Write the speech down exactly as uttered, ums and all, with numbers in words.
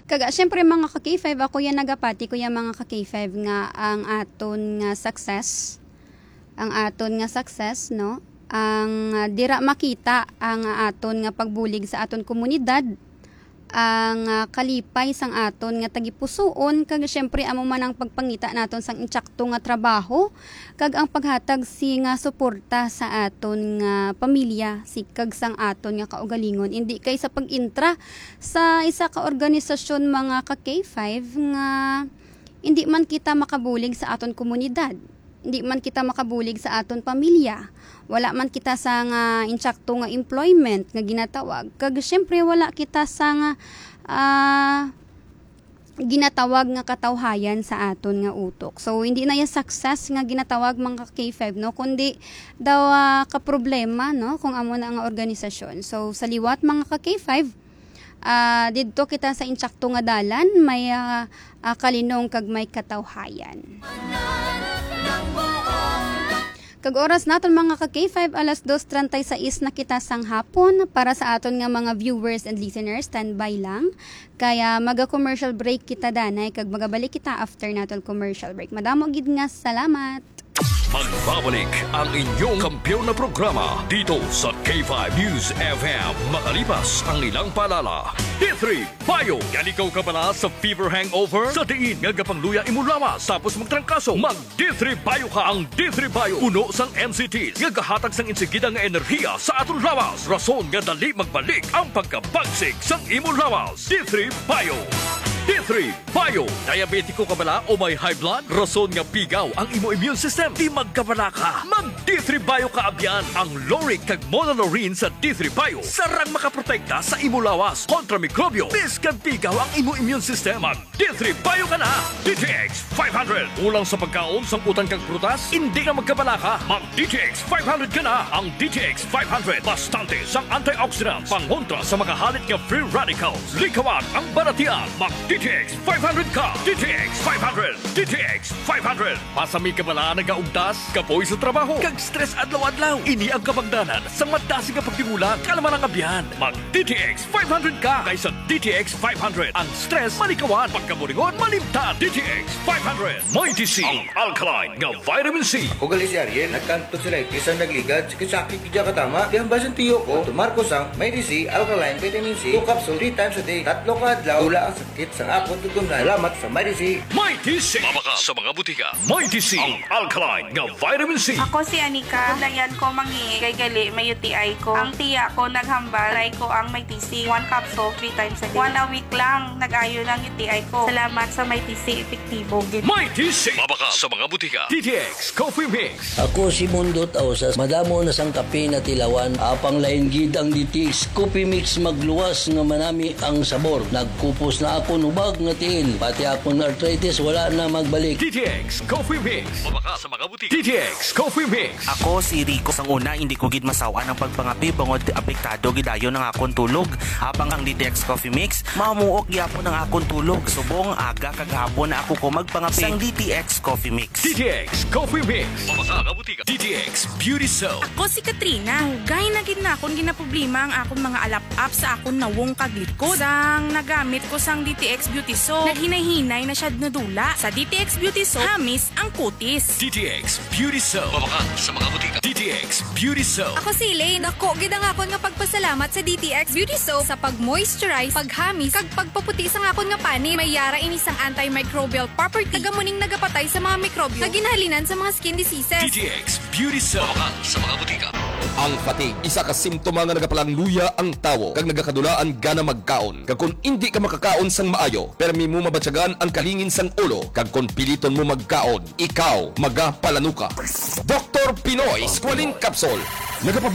Kaga, syempre, mga ka K five, ako yan nagapati ko yan, mga ka K five, nga ang aton nga success, ang aton nga success, no? Ang, ah, dira makita ang aton nga pagbulig sa aton komunidad, ang, ah, kalipay sang aton nga tagipusoon, kag syempre, amo man ang pagpangita naton sang insakto nga trabaho, kag ang paghatag sing suporta sa aton nga pamilya, si, kag sang aton nga kaugalingon. Indi kay sa pag-intra sa isa ka organisasyon, mga ka K five, nga indi man kita makabulig sa aton komunidad, indi man kita makabulig sa aton pamilya, wala man kita sang insakto nga employment nga ginatawag, kag siyempre wala kita sang, ah, ginatawag nga katawhayan sa aton nga utok. So, hindi na ya success nga ginatawag, mga ka K five, no, kundi daw, ah, ka problema, no, kung amo na nga organisasyon. So, sa liwat, mga ka K five, ah, didto kita sa insakto nga dalan, may, ah, ah, kalinong kag may katawhayan. Kag oras naton, mga ka K five, alas dos treinta y seis na kita sang hapon. Para sa aton nga mga viewers and listeners, standby lang. Kaya maga-commercial break kita, danay, kag magabalik kita after naton commercial break. Madamo gid nga salamat. Magbabalik ang inyong kampiyon na programa dito sa K five News F M, makalipas ang ilang paalala. D three Bio. Yan, ikaw ka bala sa fever hangover? Sa diin nga gapangluya imo lawas tapos magtrangkaso, mag D three Bio ka. Ang D three Bio puno sang N C Ts nga gahatag sang insigida nga enerhiya sa aton lawas, rason nga dali magbalik ang pagkabagsik sang imo lawas. D three Bio. D three Bio. Diabetiko ka bala o may high blood? Rason nga pigaw ang imo immune system, di magkabala ka. Mag D three Bio ka, abyan. Ang lauric kag monolaurin sa D three Bio sarang makaprotekta sa imo lawas kontra mikrobyo, biskan pigaw ang imo immune system. Mag D three Bio ka na. D T X five hundred. Kulang sa pagkaon, sangkutan kag prutas, indi na magkabala ka. Mag D T X five hundred ka na. Ang D T X five hundred, bastante sang antioxidants, pangontra sa mga halit nga free radicals. Likawan ang balatian. Mag D T X five hundred ka. D T X five hundred. D T X five hundred. Pasami ka bala nagaugtas, kapoy sa trabaho, kag stress adlaw-adlaw? Ini ang kabangdanan sa madasig nga pagtibulan. Kalma lang, abyan. Mag D T X five hundred ka, kay sa D T X five hundred, ang stress malikawan, pagkaburingon malimtan. D T X five hundred. Mighty C, ang alkaline nga vitamin C. Ako gali si Ariel, nagkanto sa lightis ang nagligad, sakit-sakit gid ka tama. Di ang basin tiyo ko, tumar ko sang Mighty C, alkaline vitamin C, two capsule, three times a day, tatlo ka adlaw, wala ang sakit sa akon tutunlan. Salamat sa Mighty C. Mighty C. Mabaka sa mga butika. Mighty C, ang alkaline nga vitamin C. Ako si Anika. Layan ko mangi kay gali may U T I ko. Ang tiya ko naghambal, try ko ang Mighty C. One capsule, three times a day. One a week lang, nag-ayo na ang U T I ko. Salamat sa Mighty C, epektibo gid. Mighty C. Mabaka sa mga butika. D T X Coffee Mix. Ako si Mundo Tausas. Madamo na sang kape na tilawan. Apang lain gid ang D T X Coffee Mix, magluwas nga manami ang sabor. Nagkupos na akon hubag nga tiil. Pati akon arthritis wala na magbalik. D T X Coffee Mix. Mabaka sa mga butika. D T X Coffee Mix. Ako si Rico. Sang una, hindi ko gid masaw-an ang pagpangape bangod apektado gid dayon ang akon tulog. Apang ang D T X Coffee Mix, mamuok gyapon ang akon tulog. Subong aga kag hapon na ako ko magpangape sang D T X Coffee Mix. D T X Coffee Mix. Mabaka sa mga butika. D T X Beauty Soap. Ako si Katrina. Dugay na gid na akon ginaproblema ang akon mga alap-ap sa akon nawong kag likod. Sang nagamit ko sang D T X Beauty Soap, naghinay-hinay na siya nadula. Sa D T X Beauty Soap, hamis ang kutis. D T X Beauty Soap. Mabaka sa mga butika. D T X Beauty Soap. Ako si Elaine. Dako gid ang akon nga pagpasalamat sa D T X Beauty Soap sa pag-moisturize, paghamis, kag pagpaputi sang akon nga panit. May yara ini sang antimicrobial property, kag amo ning nagapatay sa mga mikrobyo nga ginahalinan sa mga skin diseases. D T X Beauty Soap. Mabaka sa mga butika. Ang fatigue, isa ka simptoma nga nagapalangluya ang tawo kag nagakadula ang gana magkaon. Kag kon indi ka makakaon sang maayo, permi mo mabatyagan ang kalingin sang ulo, kag kon piliton mo magkaon, ikaw magapalanuka. Doktor Pinoy Squalene Capsule. Nagapabalik